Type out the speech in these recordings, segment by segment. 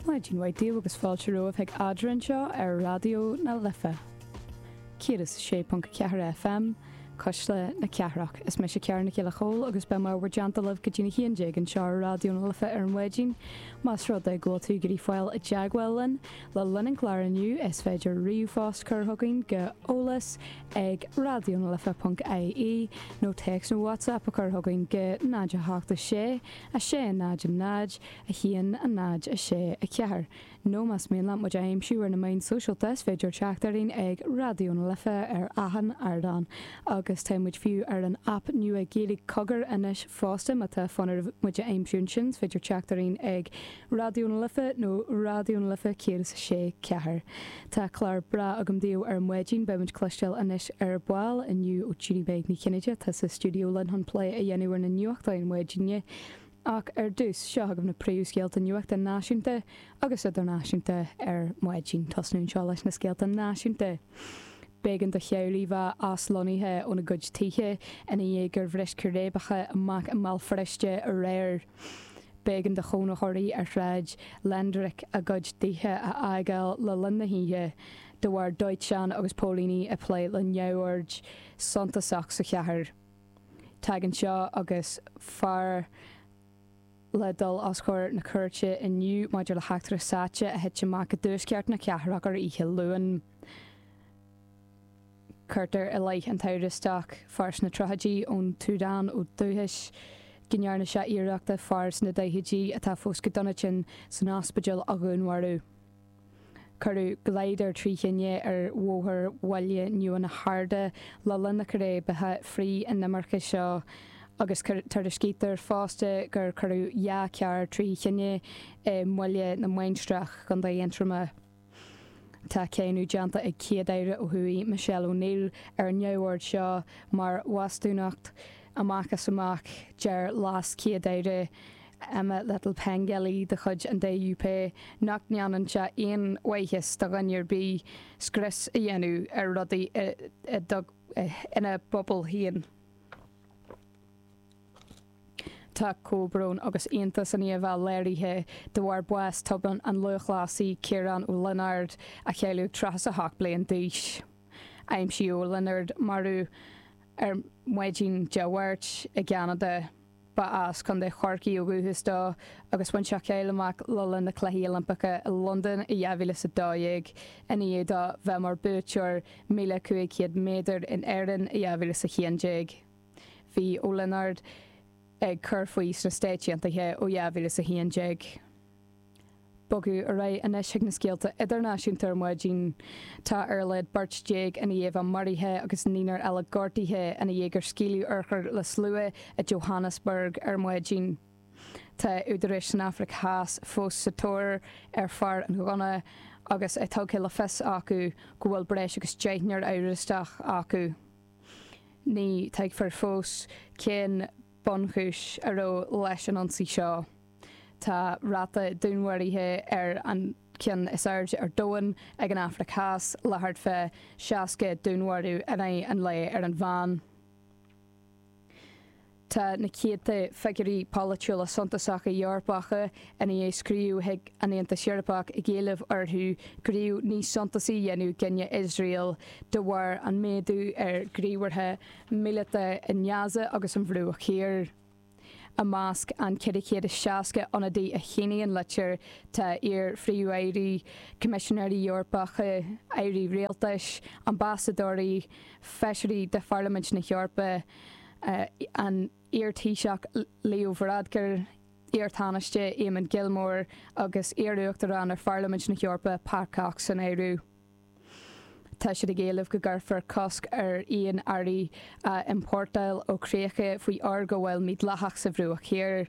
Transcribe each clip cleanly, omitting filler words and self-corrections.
Maidin mhaith daoibh agus fáilte romhaibh chuig Eadra anseo ar Raidió na Life 106.4 FM, Cuisle na Cathrach. Is mise Ciara Nic Giolla Chóill agus beidh mé i bhur dteannta libh go dtí'n 11 anseo ar Raidió na Life ar maidin. Más rud é go bhfuil tú ag iarraidh fáil i dteagmháil linn le linn an chláir inniu is féidir ríomhphost cur chugainn go eolas ag raidionalife.ie nó téacs nó WhatsApp a chur chugainn go 0 8 6 6 0 0 1 0 6 4. Nó más mian leat muid a aimsiú ar na meáin sóisialta is féidir teacht orainn ag Raidió na Life ar achan ardán. Agus tá muid fiú ar an aip nua Gaeilge Cogar anois fosta, má tá fonn oraibh muid a aimsiú ansin is féidir teacht orainn ag Raidió na Life nó Raidió na Life 106 4. Tá clár breá agam daoibh ar maidin, beidh muid cloisteáil anois ar ball inniu ó Judy Meg Ní Chinnéide atá sa stiúideo linn chun plé a dhéanamh ar na nuachtáin maidine. Ach ar dtús, seo chugaibh na príomhscéalta nuachta náisiúnta agus idirnáisiúnta ar maidin. Tosnú anseo leis na scéalta náisiúnta. B'éigean do theaghlaigh bheith aslonnaithe óna gcuid tithe ina dhiaidh gur bhris círéibeacha amach i mBéal Feirste aréir. B'éigean do chónaitheoirí ar Shráid Lendrick a gcuid tithe a fhágáil le linn na hoíche de bharr dóiteán agus póilíní ag plé le neamhoird suntasach sa chathair. Tagann seo agus fear le dul os comhair na cúirte inniu maidir le heachtra sáite a thit amach i dtuaisceart na cathrach ar oíche Luain. Cuirtear i leith an t-amhrastach, fear sna tríochaidí ón tSúdáin ó dhúchas, go ndearna sé iarracht fear sna daichidí atá fós go dona tinn san ospidéal a dhúnmharú. Cuireadh glider trí thine ar bhóthar Bhaile Nua na hArda le linn na círéibeacha frith-inimirce seo agus tuairiscítear fosta gur cuireadh 2 charr trí thine i mBaile na Mainistreach, Contae Aontroma. Tá cáineadh déanta ag Céad-Aire ó thuaidh Michelle O'Neill ar an neamhord seo mar bhastúnacht amach is amach. Deir LeasChéad-Aire Emma Little-Pengelly de chuid an DUP nach ndéanann sé aon mhaitheas do dhuine ar bith scrios a dhéanamh ar rudaí ina bpobal féin. Tá comhbhrón agus aontas i ndiaidh a bheith léirithe de bharr bás tobann an lúthchleasaí Ciarán Ó Lionáird, a cailleadh ag 38 bliain d'aois. Aimsíodh Ó Lionáird marbh ar maidin Dé Máirt i gCeanada. Ba as Contae Chorcaí ó dhúchas dó agus bhain sé cáil amach le linn na Cluichí Oilimpeacha i Londain i 2012 ina dhiaidh dó bheith mar buaiteoir 1,500 méadar in Éirinn i 2011. Bhí Ó Lionáird ag cur faoi sna Stáit Aontaithe ó 2011. Bogadh ar aghaidh anois chuig na scéalta idirnáisiúnta ar maidin. Tá ar a laghad beirt ina dhiaidh bheith maraithe agus naonúr eile gortaithe ina dhiaidh gur scaoileadh urchair le slua i Johannesburg ar maidin. Tá údaráis san Afraic Theas fós sa tóir ar fear an ghunna agus é tugtha le fios acu go bhfuil breis agus deichniúr amhrastach acu. Ní tuigfear fós cén bunchúis a raibh leis an ionsaí seo. Tá ráta dúnmharuithe ar an cheann is airde ar domhan ag an Afraic Theas, le thart fá 60 dúnmharú in aghaidh an lae ar an mheán. Tá na céadta figiúirí polaitiúla suntasacha Eorpacha ina dhiaidh scríobh chuig an Aontas Eorpach ag éileamh orthu gníomh níos suntasaí a dhéanamh i gcoinne Iosrael de bharr an méadú ar ghníomhartha míleata i nGaza agus an Bhruach Thiar. I measc an 460 ionadaí a shínigh an litir tá iar-phríomh-airí, coimisinéirí Eorpacha, airí rialtais, ambasadóirí, feisirí de Pharlaimint na hEorpa, an iar-Taoiseach Leo Varadkar, iar-Tánaiste Eamon Gilmore agus iar-Uachtarán ar Pharlaimint na hEorpa Pat Cox san áireamh. Tá siad ag éileamh go gcuirfear cosc ar aon earraí a iompórtáil ó chríocha faoi fhorghabháil mídhleathach sa Bhruach Thiar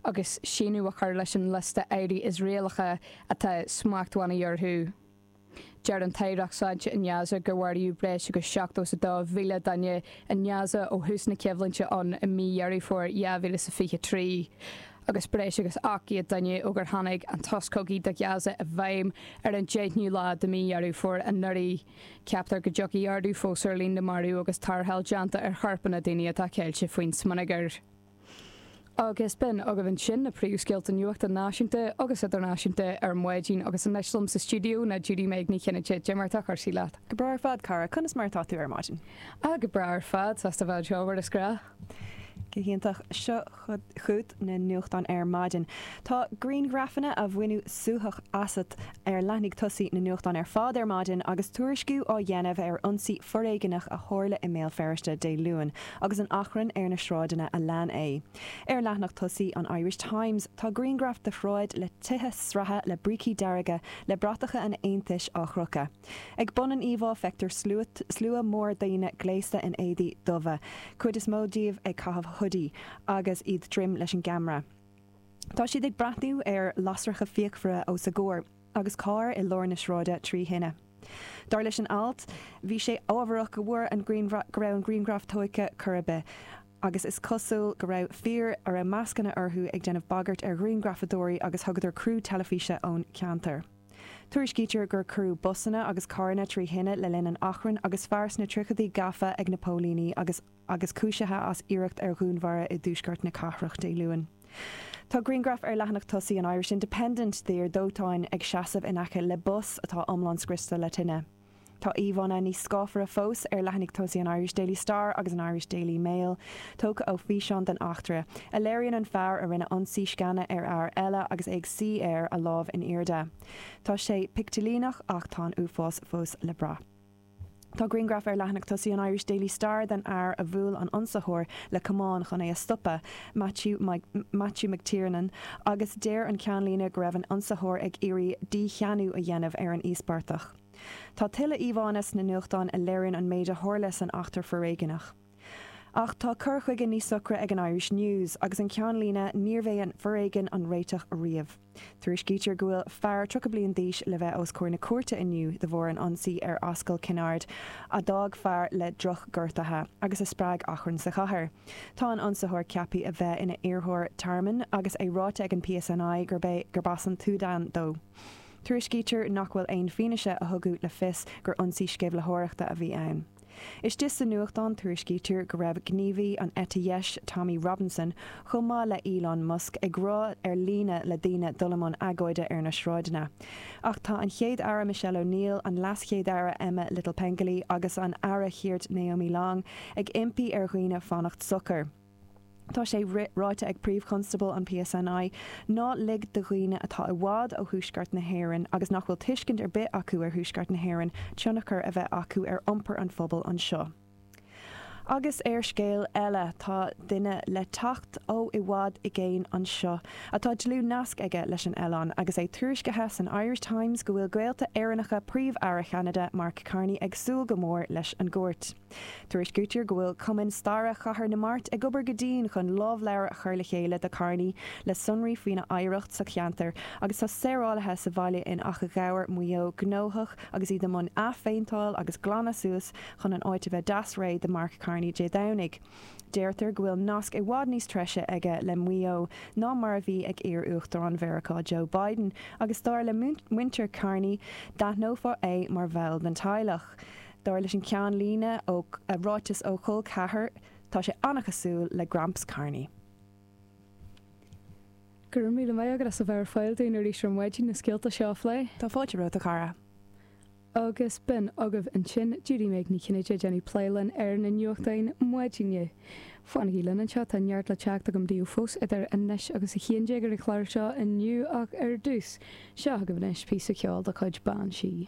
agus síneadh a chur leis an liosta earraí Iosraelacha atá smachtbhannaí orthu. Deir an tAireacht Sláinte i nGaza gur maraíodh breis agus 72,000 duine i nGaza ó thús na coimhlinte ann i mí Dheireadh Fómhair 2023. agus breis agus 800 duine ó gur tháinig an sos cogaidh do Ghaza i bhfeidhm ar an 10ú lá de mhí Dheireadh Fómhair anuraidh. Ceaptar go dtiocfaidh ardú fós ar líon na marbh agus tarrtháil déanta ar chorpanna daoine atá ceilte faoin smionagar. Agus b'in agaibh ansin na príomhscéalta nuachta náisiúnta agus idirnáisiúnta ar maidin agus anois liom sa stiúideo ná Judy Meg Ní Chinnéide. Cad é mar atá cúrsaí leat? Go breá ar fad, cara. Conas mar atá tú ar maidin? Ah, go breá ar fad. Sásta bheith anseo mar is gnách. Go hiontach. Seo chugat na nuachtáin ar maidin. Tá grianghrafanna a bhaineadh suaitheadh asat ar leathanaigh tosaigh na nuachtán ar fad ar maidin agus tuairisciú á dhéanamh ar ionsaí foréigeanach a tharla i mBéal Feirste Dé Luain agus an achrann ar na sráideanna a lean é. Ar leathanach tosaigh an Irish Times tá grianghraf de shráid le tithe sraithe le brící dearga le bratacha an Aontais á gcrochadh. Ag bun an íomhá feictear slua mór daoine gléasta in éadaí dubha, cuid is mó díobh ag caitheamh hoodie, agus iad droim leis an gceamara. Tá siad ag breathnú ar lasracha fíochmhara os a gcomhair agus carr i lár na sráide trí thine. Dar leis an alt, bhí sé ámharach go bhfuair an go raibh an grianghraf tógtha chor ar bith agus is cosúil go raibh fir a raibh mascanna orthu ag déanamh bagairt ar ghrianghrafadóirí agus thugadar criú teilifíse ón cheantar. Tuairiscítear gur cuireadh busanna agus carranna trí thine le linn an achrainn agus fear sna tríochaidí gafa ag na póilíní agus agus cúisithe as iarracht ar dhúnmharú i dtuaisceart na cathrach Dé Luain. Tá grianghraf ar leathanach tosaigh an Irish Independent d'fhear dóiteáin ag seasamh in aice le bus atá iomlán scriosta le tine. Tá íomhánna níos scáfara fós ar leathanaigh tosaigh an Irish Daily Star agus an Irish Daily Mail, tógtha ó fhíseán den eachtra, a léiríonn an fear a rinne ionsaí sceana ar fhear eile agus é ag suí air, a lámh in airde. Tá sé picteilíneach ach tá an uafás fós le brath. Tá grianghraf ar leathanach tosaigh an Irish Daily Star den fhear a bhuail an ionsaitheoir le camán chun é a stopadh, Matthew Matthew McTiernan, agus deir an ceannlíne go raibh an ionsaitheoir ag iarraidh dícheannú a dhéanamh ar an íospartach. Tá tuilleadh íomhánna sna nuachtáin a léiríonn an méid a tharla san eachtra foréigeanach. Ach tá cur chuige níos socra ag an Irish News, agus an ceannlíne 'Níorbh é an foréigean an réiteach riamh'. Tuairiscítear go bhfuil fear 30 bliain d'aois le bheith os comhair na cúirte inniu de bharr an ionsaí ar Ascaill Kennard a d'fhág fear le drochghortuithe agus a spreag achrann sa chathair. Tá an ionsaitheoir ceaptha a bheith ina iarrthóir tearmainn agus é ráite ag an PSNI gurb é gurb as an tSúdáin dó. Tuairiscítear nach bhfuil aon fianaise a thugadh le fios gur ionsaí sceimhlitheoireachta a bhí ann. Istigh sa nuachtán tuairiscítear go raibh gníomhaí an eite dheis Tommy Robinson, chomh maith le Elon Musk, ag rá ar líne le daoine dul i mbun agóide ar na sráideanna. Ach tá an Chéad-Aire Michelle O'Neill, an LeasChéad-Aire Emma Little-Pengelly agus an Aire Chirt Naomi Long ag impí ar dhaoine fanacht socair. Tá sé ráite ag Príomh-Chonstábla an PSNI ná lig do dhaoine atá i bhfad ó thuaisceart na hÉireann agus nach bhfuil tuiscint ar bith acu ar thuaisceart na hÉireann tionchar a bheith acu ar iompar an phobail anseo. Agus ar scéal eile, tá duine le teacht ó i bhfad i gcéin anseo atá dlúth-nasc aige leis an oileán agus é tuairiscithe san Irish Times go bhfuil gaolta Éireannacha Príomh-Aire Cheanada Mark Carney ag súil go mór leis an gcuairt. Tuairiscítear go bhfuil Cumann Staire Chathair na Mart ag obair go dian chun lámhleabhar a chur le chéile do Carney le sonraí faoina oidhreacht sa cheantar agus tá saorálaithe sa bhaile in Achadh Ghabhair, Maigh Eo gnóthach agus iad i mbun athphéinteáil agus glanadh suas chun an áit a bheith deas réidh do Mark Carney Dé Domhnaigh. Deirtear go bhfuil nasc i bhfad níos treise aige le Maigh Eo ná mar a bhí ag iar-Uachtarán Mheiriceá Joe Biden agus dar le muintir Carney d'aithneofá é mar bhall den teaghlach. Dar leis an ceannlíne ó ráiteas ó chol ceathar, tá sé an-chosúil le Gramps Carney. Go raibh míle maith agat as a bheith ar fáil dúinn arís ar maidin na scéalta seo a phlé. Tá fáilte romhat, a chara. Agus b'in agaibh ansin Judy Meg Ní Chinnéide ag déanamh plé linn ar na nuachtáin maidine. Fanaigí linn anseo, tá neart le teacht agam daoibh fós idir anois agus a 11 ar an chlár seo inniu ach ar dtús, seo agaibh anois píosa ceoil de chuid Bean Sí.